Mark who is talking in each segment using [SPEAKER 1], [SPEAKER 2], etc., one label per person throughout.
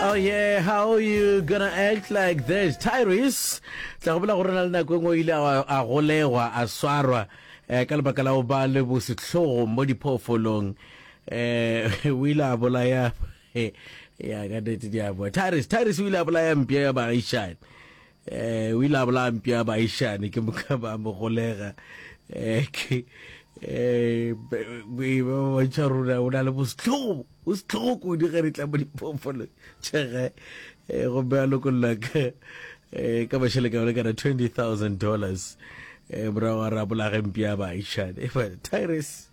[SPEAKER 1] Oh yeah, how you gonna act like this? Tyrese, tla gopola gore na le nako e nngwe o ile a golegwa, a swarwa eh, ka lebaka la go ba le bosehlogo mo diphoofolong. Eh, o ile a bolaya ya ka nnete di a boa. Tyrese, Tyrese o ile a bolaya mpša ya baagišane. Eh, o ile a bolaya mpša ya baagišane ke moka ba mo golega. Eh, ke eh ba bontšha rona o na le bosehlogo o sehlogo kudu ge re tla mo diphoofolong tšhege eh, gomme a lokolla ka eh, ka mašele ka lekana 20000 dollars eh, morago a re a bolage mpša ya baagišane Tyrese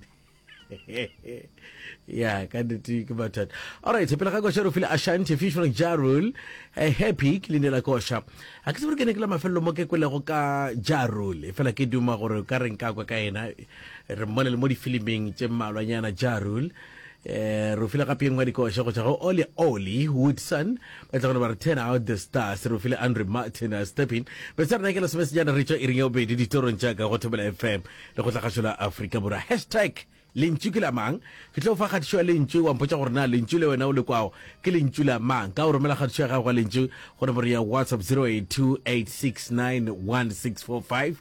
[SPEAKER 1] ya ka nnete ke mathata alright pele ga koša re file ashanti featuring Ja Rule eh, happy ke leina la koša a ke tsebe gore ke ne ke la mafelelo mo ke kwelego ka Ja Rule fela ke duma gore ka re nka kwa ka yena re mmone le mo difilimeng tše mmalwanyana Ja Rule eh re file gape engwe dikoša go tšwa go Oli Oli Woodson ba tla gone ba re turn out the stars re file Andre Martin a stepping bese rena ke lesomesejana re tšwa iring ya bobedi ditorong tša ka go Thobela FM le go tlagašo la Afrika Borwa. Hashtag lentšu ke la mang? Ke tlo fa kgatišo ya lentšu wa mpotša gore na lentšu le wena o le kwago ke lentšu la mang. Ka o romela kgatišo ya gago ya lentšu go nomoro ya WhatsApp 0828691645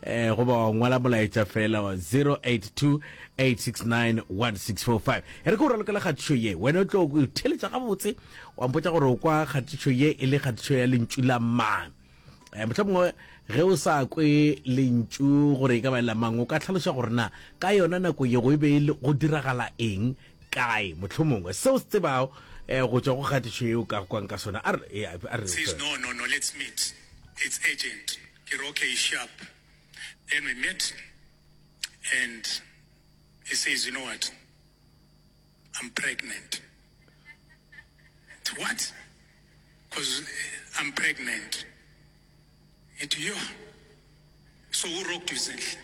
[SPEAKER 1] eh goba wa ngwala molaetša fela wa 0828691645. E re ke o ralokela kgatišo ye wena o tlo theletša gabotse wa mpotša gore o kwa kgatišo ye e le kgatišo ya lentšu la mang. Eh, mohlomongwe ge o sa kwe lentšu gore e ka ba e la mang o ka hlaloša gore na ka yona nako ye go e be e go diragala eng kae mohlomongwe seo se tsebago eh, go tšwa go kgatišo ye o ka kwang ka sona a re eh, a re
[SPEAKER 2] Says, no, no, no, let's meet. It's urgent. Ke re, okay, sharp. Then we met and he says, you know what? I'm pregnant. What? Cause I'm pregnant. Ngithi yo. So who rocked you Zinhle?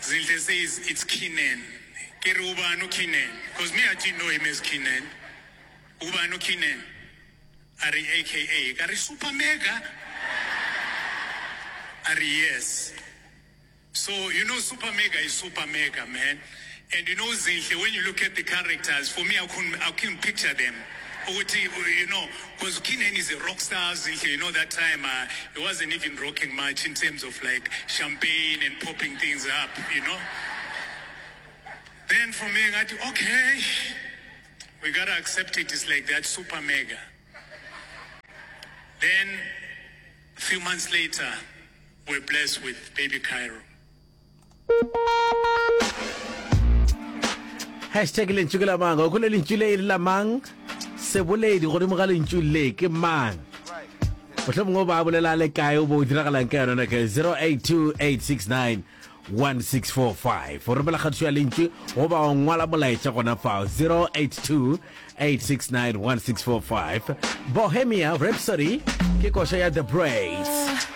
[SPEAKER 2] Zinhle says it's Keenan. Ke re ubani uKeenan? Cause me I didn't know him as Keenan. Ubani uKeenan? A re AKA. Ka re super mega. A re yes. So you know Super Mega is Super Mega man and you know Zinhle when you look at the characters for me I couldn't, I couldn't picture them ukuthi you know because Keenan is a rock star Zinhle you know that time uh, he wasn't even rocking much in terms of like champagne and popping things up you know then for me ngathi okay we gotta accept it it's like that super mega then a few months later We're blessed with baby Cairo.
[SPEAKER 1] Hashtag lentšu ke la mang? O kwele lentšu le e le la mang? Seboledi godimo ga lentšu le ke mang? Mohlomongwe ba bolela le kae o bo o diragalang ka yona nako 082869 1645 o romela kgatišo ya lentšu goba o ngwala molaetša gona fao 082 869 1645 Bohemia Rhapsody ke koša ya The Braids.